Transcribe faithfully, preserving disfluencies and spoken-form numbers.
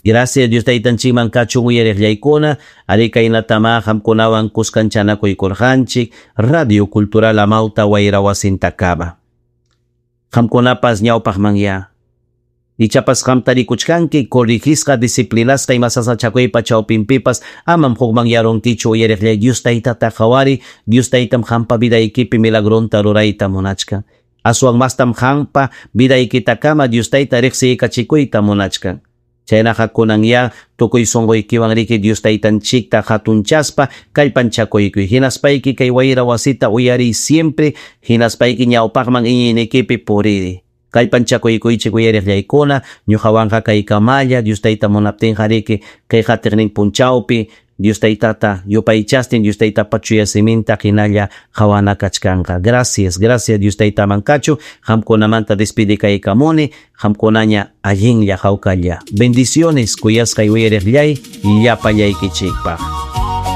Gracias Dios taytanchikman kachun uyariqllaykuna, ari kaynatama qamkunawan kuskanchanakuykurqanchik Radio Cultural Amauta wayra wasintakama. Qamkunapas ñawpaqmanya. Ichapas qamta rikuchkanki corrigisqa disciplinasqa ima sasachakuypa chawpinpipas amam hukmanyarunkichu uyariqllay Dios taytata qhawari Dios taytam qampa vidaykipi milagronta rurayta munachkan. Aswan mastam qampa vidaykitakama Dios tayta riqsiykachikuyta munachkan. Chaynaqa kunanya tukuy sunquykiwan riki Dios taytanchikta hatunchaspa kallpanchakuykuy. Hinaspayki kay wayra wasita uyariy siempre hinaspayki ñawpaqman iñiynikipi puriri. Kallpanchakuykuychik uyariqllaykuna ñuqawanqa kaykamalla Dios tayta munaptinqa riki kay qatiqnin punchawpi Dios taytata yupaychastin Dios taytapa chuya siminta hinalla qawana kachkanqa. Gracias, gracias Dios taytaman kachu qamkunamanta despidikaykamuni qamkunaña allinlla hawkalla. Bendiciones kuyasqay uyariqllay llapallaykichikpaq.